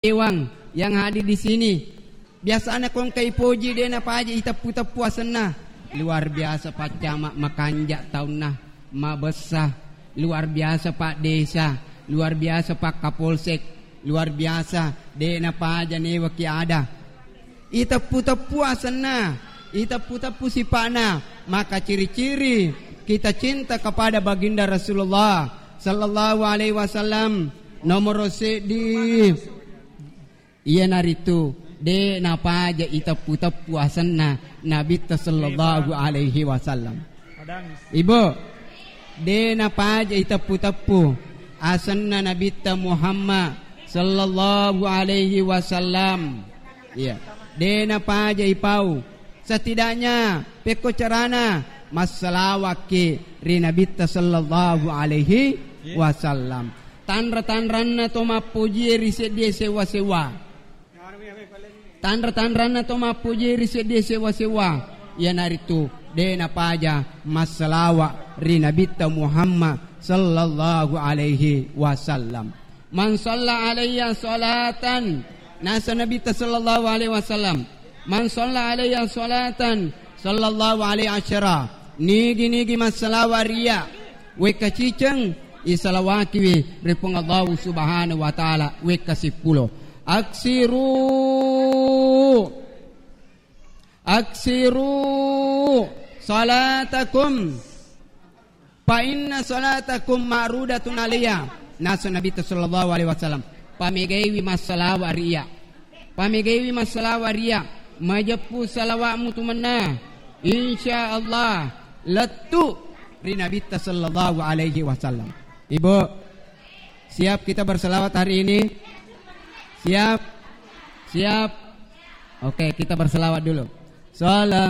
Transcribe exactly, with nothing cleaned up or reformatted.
Dewan yang hadir di sini. Biasana kongka ipoji de' napaja iteppu-teppu asenna. Luar biasa Pak Camat, makanja' taunna, mabessa. Luar biasa Pak Desa, luar biasa Pak Kapolsek, luar biasa, de' napaja newa ki ada. Iteppu-teppu asenna, iteppu-teppu sipa'na, maka ciri-ciri kita cinta kepada Baginda Rasulullah sallallahu alaihi wasallam. Nomoro seddi, iyanaritu de' napaja iteppu-teppu asenna Nabitta sallallahu alaihi wasallam. Ibu, de' napaja iteppu-teppu asenna Nabitta Muhammad sallallahu alaihi wasallam. Iya. De' napaja ipau. Setidaknya pekko carana, massalawakki ri Nabitta sallallahu alaihi wasallam. Tanra-tanranna to mappojie ri seddie sewa-sewa. Tanra-tanranna to mappojie ri seddie sewa-sewa, iyanaritu de' napaja massalawa ri Nabitta Muhammad sallallahu alaihi wasallam. "Man shalla alayya salatan," nasa Nabitta sallallahu alaihi wasallam, "man shalla alayya salatan, sallallahu alaihi asyara." Nigi-nigi massalawa ri iyya, wekka ciceng, isalawakiwi ri Puang Allahu Subhanahu wa Ta'ala wekka sippulo. "Aksiru, aksiru salatakum, fa inna salatakum ma'rudatun alayya." Nasa Nabitta sallallahu alaihi wasallam, "Pamegaiwi massalawa ri iyya. Pamegaiwi massalawa ri iyya. Majeppu salawa'mu tu mennang. Insya Allah, lettu ri Nabitta sallallahu alaihi wasallam." Ibu, siap kita berselawat hari ini? Siap? Siap? Oke, kita berselawat dulu. Salam